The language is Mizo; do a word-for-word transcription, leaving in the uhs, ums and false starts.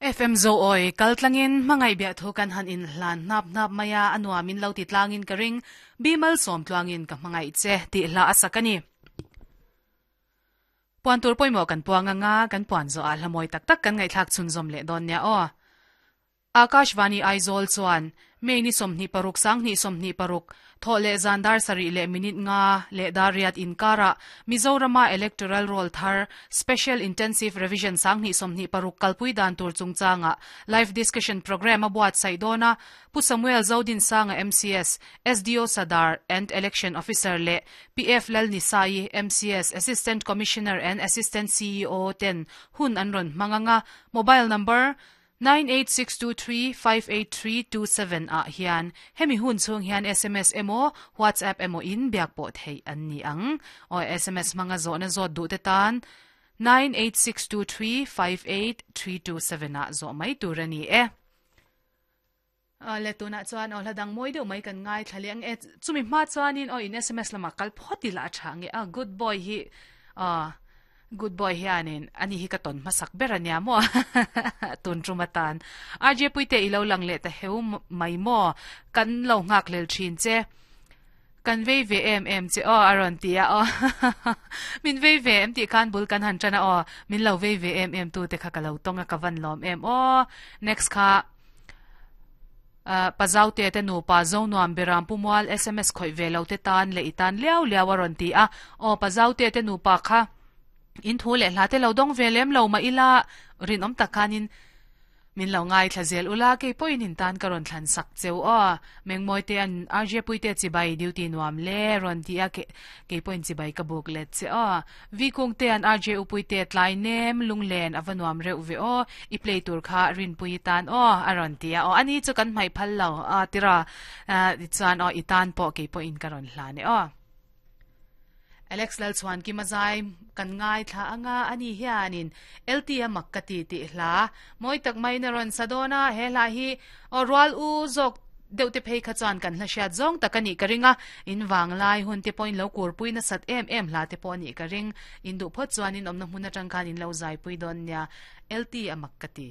F M zo oi kaltlangin mangai bia thu kan han in hlan nap nap maya anwa min lo ti tlangin ka ring bimal som tlangin ka mangai che ti hla asakani puan tur poimo kan puanga nga kan puan zo a hlamoi tak tak kan ngai thak chun zom le don nia o Akashvani Aizawl chuan me ni somni paruk sang ni somni paruk thole zandar sari le minute nga le dariat inkara Mizorama electoral roll thar special intensive revision sang ni somni paruk kalpui dan tur chungchanga live discussion program abuat saidona Pu Samuel Zodin Sanga M C S S D O Sadar and election officer le P F Lal Nisai M C S assistant commissioner and assistant C E O ten hun anron manganga mobile number nine eight six two three five eight three two seven a hian hemi hun chung hian S M S emo WhatsApp emo in biak po thei an ni ang o S M S manga zo na zo du te tan nine eight six two three five eight three two seven a zo mai turani e a le tu na chuan o hladang moi deuh mai kan ngai thlaliang e chumi ma chuanin o in S M S lama kal photi la thange a good boy hi a good boy hianin ani hi ka ton masak berania mo tun trumatan R J puite ilo lang le ta heu mai mo kan lo ngak lel thin che kan vei ve em em che o aron tia o min vei ve em ti kan bul kan han chana o min lo vei ve em em tu te kha ka lo tonga ka van lom em o next kha pazau te te nu pa zo nuam beram pumwal S M S khoi ve lo te tan le itan liao liao aron ti a o pazau te te nu pa kha in thu le hla te lo dong velem lo ma ila rin om takanin min lo ngai thlazel ula ke poin in tan karon thlan sak cheu o mengmoi te an R J puite chibai duty nuam le ron ti a ke ke poin chibai ka buk le che o vi kung te an R J upuite tlai nem lunglen avanuam reu ve o i play tur kha rin pui tan o aron ti a o ani chu kan mai phal lo a tira chuan o i tan po ke poin karon hla ne o Alex Lal chuan ki mazai kan ngai thla anga ani hianin L T M makati ti hla moi tak mai na ron sadona he hla hi o rual u zok deute phei kha chuan kan hla hriat zong takani karinga in wanglai hun te point lo kur pui na sat em em hla te pawh ni ka ring in du phot chuan in omna hmun atang khan in lo zai pui don nia L T M makati.